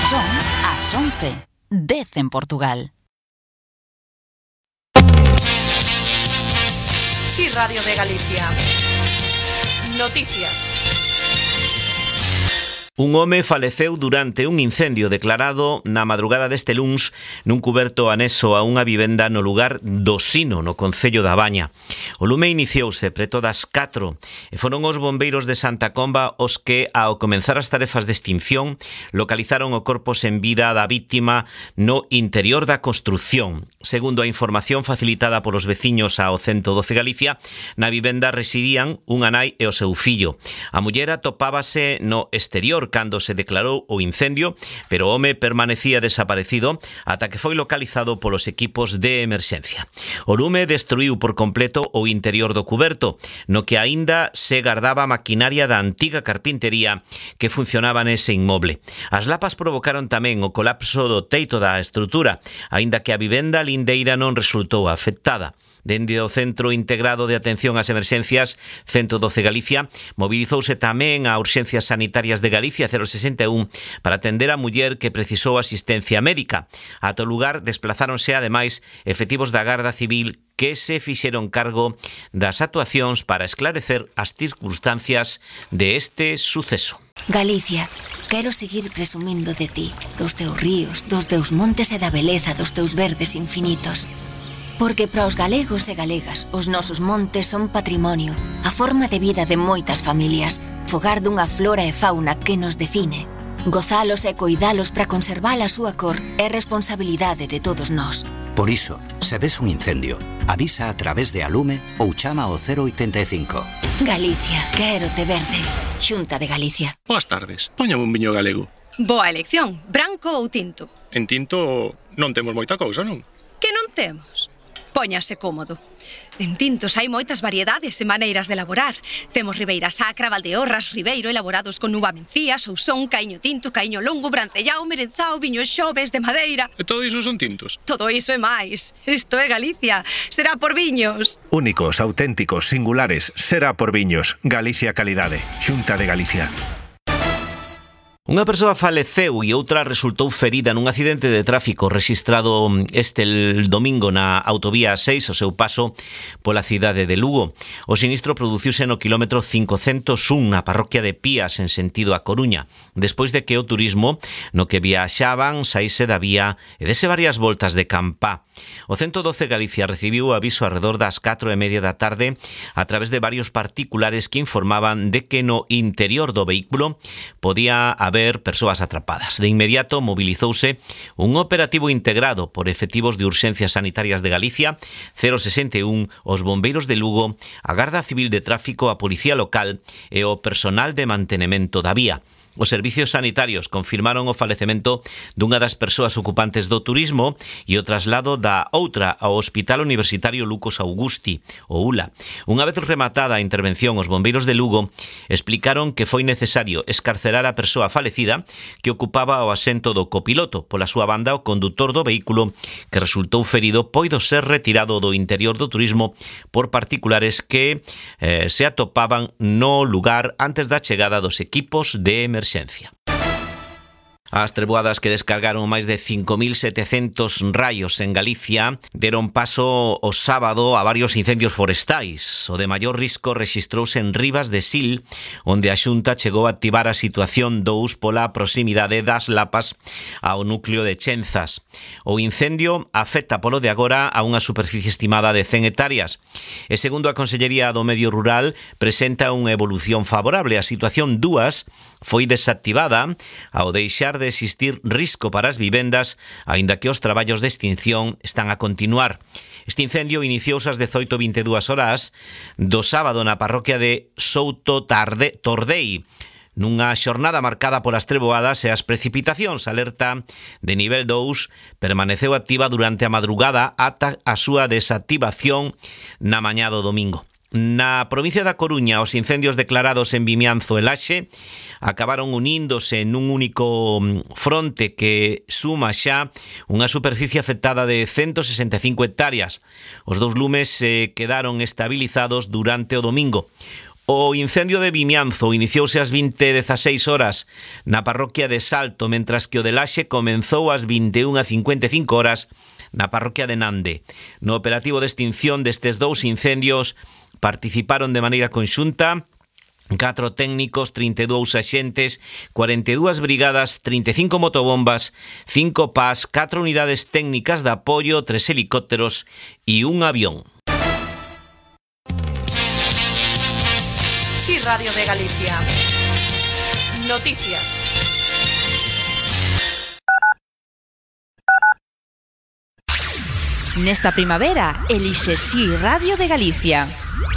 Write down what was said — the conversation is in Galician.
Son as 11, 10 en Portugal. Sí, Radio de Galicia. Noticias. Un home faleceu durante un incendio declarado na madrugada deste luns nun cuberto anexo a unha vivenda no lugar do Sino, no concello da Baña. O lume iniciouse preto das 4 e foron os bombeiros de Santa Comba os que, ao comenzar as tarefas de extinción, localizaron o corpo sen vida da víctima no interior da construción. Segundo a información facilitada polos veciños ao 112 Galicia, na vivenda residían unha nai e o seu fillo. A muller atopábase no exterior cando se declarou o incendio, pero o home permanecía desaparecido ata que foi localizado polos equipos de emerxencia. O lume destruiu por completo o interior do cuberto, no que aínda se gardaba maquinaria da antiga carpintería que funcionaba nese inmoble. As lapas provocaron tamén o colapso do teito da estrutura, aínda que a vivenda lindeira non resultou afectada. Dende o Centro Integrado de Atención ás Emerxencias 112 Galicia, mobilizouse tamén a Urxencias Sanitarias de Galicia 061 para atender a muller que precisou asistencia médica. Ata o lugar desplazáronse ademais efectivos da Garda Civil que se fixeron cargo das actuacións para esclarecer as circunstancias de este suceso. Galicia, quero seguir presumindo de ti, dos teus ríos, dos teus montes e da beleza dos teus verdes infinitos. Porque para os galegos e galegas, os nosos montes son patrimonio, a forma de vida de moitas familias, fogar dunha flora e fauna que nos define. Gozalos e coidalos para conservar a súa cor é responsabilidade de todos nós. Por iso, se ves un incendio, avisa a través de Alume ou chama ao 085. Galicia, quero te verde. Xunta de Galicia. Boas tardes, póñame un viño galego. Boa elección, branco ou tinto? En tinto non temos moita cousa, non? Que non temos? Póñase cómodo. En tintos hai moitas variedades e maneiras de elaborar. Temos Ribeira Sacra, Valdeorras, Ribeiro, elaborados con uva mencía, Sousón, Caíño tinto, Caíño longo, Brancellao, Merenzao, Viño Xoves, de madeira. E todo iso son tintos? Todo iso e máis. Isto é Galicia. Será por viños. Únicos, auténticos, singulares. Será por viños. Galicia Calidade. Xunta de Galicia. Unha persoa faleceu e outra resultou ferida nun accidente de tráfico rexistrado este domingo na autovía 6 o seu paso pola cidade de Lugo. O sinistro produciuse no quilómetro 501 na parroquia de Pías en sentido a Coruña, despois de que o turismo no que viaxaban saíse da vía e dese varias voltas de Campá. O 112 Galicia recibiu aviso alrededor das 4:30 da tarde a través de varios particulares que informaban de que no interior do vehículo podía haber persoas atrapadas. De inmediato movilizouse un operativo integrado por efectivos de Urxencias Sanitarias de Galicia, 061, os bombeiros de Lugo, a Garda Civil de Tráfico, a Policía Local e o personal de mantemento da vía. Os servicios sanitarios confirmaron o falecemento dunha das persoas ocupantes do turismo e o traslado da outra ao Hospital Universitario Lucos Augusti, o ULA. Unha vez rematada a intervención, os bombeiros de Lugo explicaron que foi necesario escarcerar a persoa falecida que ocupaba o asento do copiloto. Pola súa banda, o condutor do vehículo que resultou ferido poido ser retirado do interior do turismo por particulares que se atopaban no lugar antes da chegada dos equipos de emerxencia. As treboadas que descargaron máis de 5.700 raios en Galicia deron paso o sábado a varios incendios forestais. O de maior risco rexistrouse en Rivas de Sil, onde a Xunta chegou a activar a situación 2 pola proximidade das lapas ao núcleo de Chenzas. O incendio afecta polo de agora a unha superficie estimada de 100 hectáreas e, segundo a Consellería do Medio Rural, presenta unha evolución favorable. A situación 2 foi desactivada ao deixar de existir risco para as vivendas, aínda que os traballos de extinción están a continuar. Este incendio iniciouse ás 18:22 horas do sábado na parroquia de Souto Tordei, nunha xornada marcada polas treboadas e as precipitacións. A alerta de nivel 2 permaneceu activa durante a madrugada ata a súa desactivación na mañá do domingo. Na provincia da Coruña, os incendios declarados en Vimianzo e Laxe acabaron uníndose nun único fronte que suma xa unha superficie afectada de 165 hectáreas. Os dous lumes quedaron estabilizados durante o domingo. O incendio de Vimianzo iniciouse ás 20:16 horas na parroquia de Salto, mentras que o de Laxe comenzou ás 21:55 horas na parroquia de Nande. No operativo de extinción destes dous incendios participaron de maneira conxunta 4 técnicos, 32 axentes, 42 brigadas, 35 motobombas, 5 PAS, 4 unidades técnicas de apoio, 3 helicópteros e un avión. Sí, Radio de Galicia. Noticias. Nesta primavera, elixe Sí Radio de Galicia.